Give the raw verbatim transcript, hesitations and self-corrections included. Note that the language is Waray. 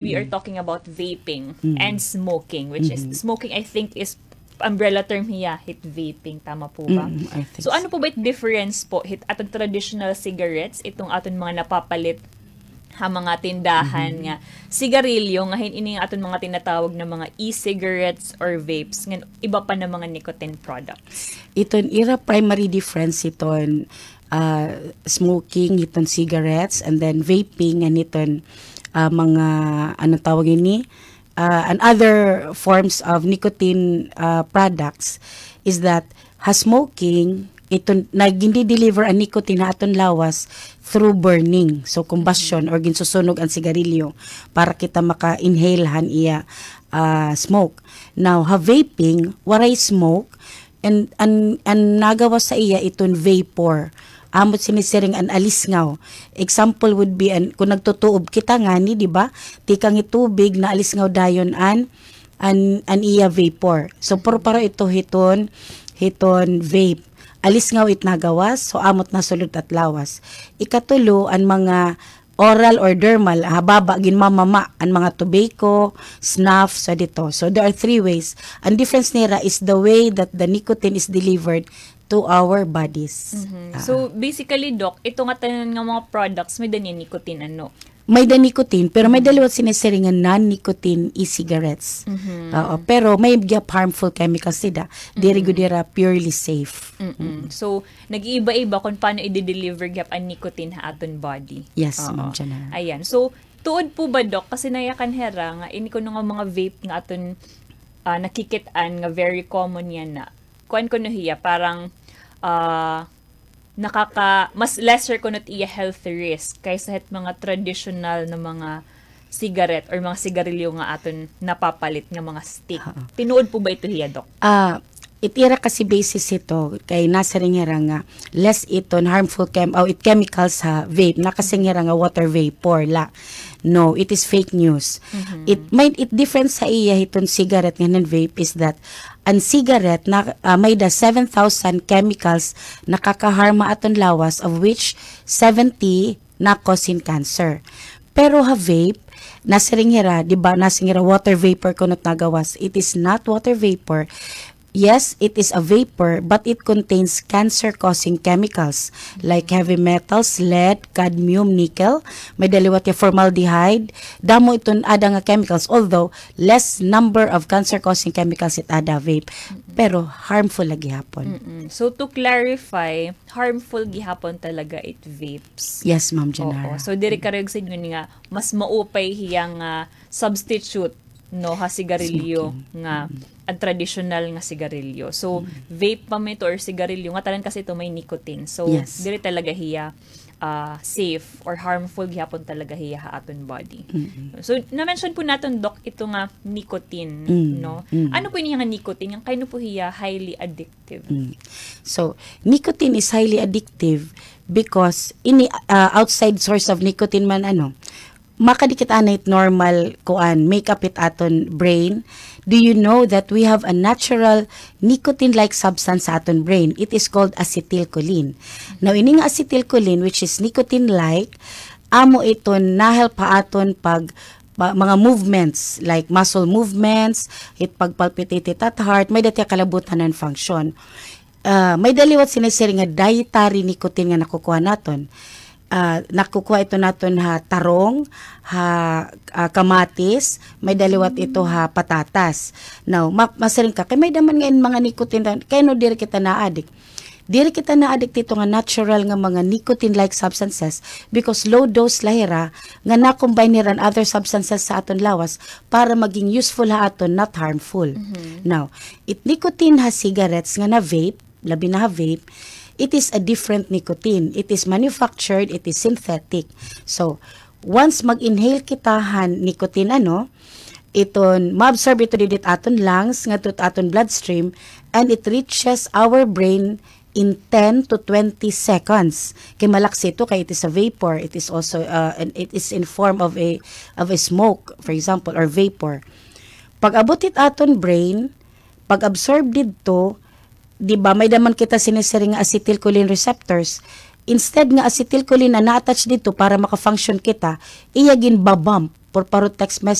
we are talking about vaping and smoking, which is, smoking, I think, is umbrella term hiya hit vaping, tama po ba? So, ano po ba it difference po hit aton traditional cigarettes, iton aton mga napapalit ha mga tindahan nga sigarilyo, nga hin-, ini nga aton mga tinatawag na mga e-cigarettes or vapes, ngan iba pa na mga nicotine products? Iton ira primary difference iton, ah, smoking, iton cigarettes, and then vaping, and iton, ah, mga, ano tawag ini? Ah, and other forms of nicotine, ah, products is that ha smoking, iton, nagindi-deliver an nicotine ha aton lawas through burning. So, combustion or ginsusunog an sigarilyo para kita maka-inhale han iya, ah, smoke. Now, ha vaping, waray smoke, and an, an nagawas ha iya iton vapor. Amo it sinisiring an alisngaw. Example would be an, kon nagtutuob kita ngani, di ba? Tikang it tubig, naalisngaw dayon an an, an iya vapor. So, purparo ito hiton, hiton vape. Alisngaw it nagawas, so amo it nasulod ha aton lawas. Ikatulo, an mga oral or dermal, ha baba, ginmamama, an mga tobacco, snuff, so dito. So, there are three ways. An difference nira is the way that the nicotine is delivered to our bodies. Mhm. Ah. So, basically, Doc, ito nga tanan nga mga products, may-ada niya nicotine, ano? May-ada nicotine, pero may-ada liwat sinisiring nga non-nicotine e-cigarettes. Mhm. Oo, pero may gihap harmful chemicals dida. Diri gud ira purely safe. Mm-mm. So, nag-iiba-iba kung paano i-deliver gihap an nicotine ha aton body. Yes, Ma'am Janara. Ayan. So, tuod po ba, Doc? Kasi nayakan hira nga, ini kuno nga mga vape nga aton, ah, nakikit-an nga very common yana. Kuan kuno hiya, parang, ah, nakaka-, mas lesser kuno it iya health risk kaysa hit mga traditional na mga cigarette or mga sigarilyo nga aton napapalit nga mga stick. Oo. Tinuod po ba ito hiya, Doc? Ah, it ira kasi basis ito, kay nasiring hira nga less iton harmful chem-, o it chemicals ha vape, nakasiring hira nga water vapor la. No, it is fake news. Mhm. It might, it difference ha iya hiton cigarette ngan vape is that an cigarette na, ah, may-ada seven thousand chemicals nakaka-harm ha aton lawas, of which seventy na cause hin cancer. Pero ha vape, nasiring hira, di ba, nasiring hira water vapor kuno it nagawas. It is not water vapor. Yes, it is a vapor, but it contains cancer-causing chemicals like heavy metals, lead, cadmium, nickel, may-ada liwat hiya formaldehyde. Damo iton aada nga chemicals, although less number of cancer-causing chemicals it aada vape, pero harmful la gihapon. Mm-mm. So, to clarify, harmful gihapon talaga it vapes. Yes, Ma'am Janara. Oo. So, diri karuyag sidngon nga mas maupay hiya nga substitute, no, ha sigarilyo nga an tradisyonal nga sigarilyo. So, vape pa man ito or sigarilyo, nga tanan kasi ito may nicotine. So, diri talaga hiya, ah, safe or harmful gihapon talaga hiya ha aton body. So, na-mention po naton, Doc, ito nga nicotine, no? Ano po ini nga nicotine? Ngan kain-o po hiya highly addictive? So, nicotine is highly addictive because ini, ah, outside source of nicotine man, ano, makadikit anay it normal, kuan, make-up it aton brain. Do you know that we have a natural nicotine-like substance sa aton brain? It is called acetylcholine. Now, ini nga acetylcholine, which is nicotine-like, amo iton nahelp ha aton pag, pa-, mga movements, like muscle movements, it pag-palpitate it at heart, may-ada it iya kalabutan nga function. Ah, may-ada liwat sinisiring nga dietary nicotine nga nakukuha naton. Ah, nakukuha ito naton ha tarong, ha, ah, kamatis, may-ada liwat ito ha patatas. Now, ma-, masiring ka, kay may-ada man nga in mga nicotine, kay ano diri kita na-addict? Diri kita na-addict hito nga natural nga mga nicotine-like substances because low dose la hira nga na-combine hira an other substances sa aton lawas para maging useful ha aton, not harmful. Now, it nicotine ha cigarettes nga na-vape, labi na ha vape, it is a different nicotine. It is manufactured, it is synthetic. So, once mag-inhale kita han nicotine, ano, iton, ma-absorb ito didi ha aton lungs, ngadto ha aton bloodstream, and it reaches our brain in ten to twenty seconds. Kay malaksi ito, kay it is a vapor, it is also, uh, an, it is in form of a, of a smoke, for example, or vapor. Pag-abot hit aton brain, pag-absorb didto, di ba, may-ada man kita sinisiring nga acetylcholine receptors. Instead nga acetylcholine an na-attach didto para maka-function kita, iya ginba-bump. Purparo text message.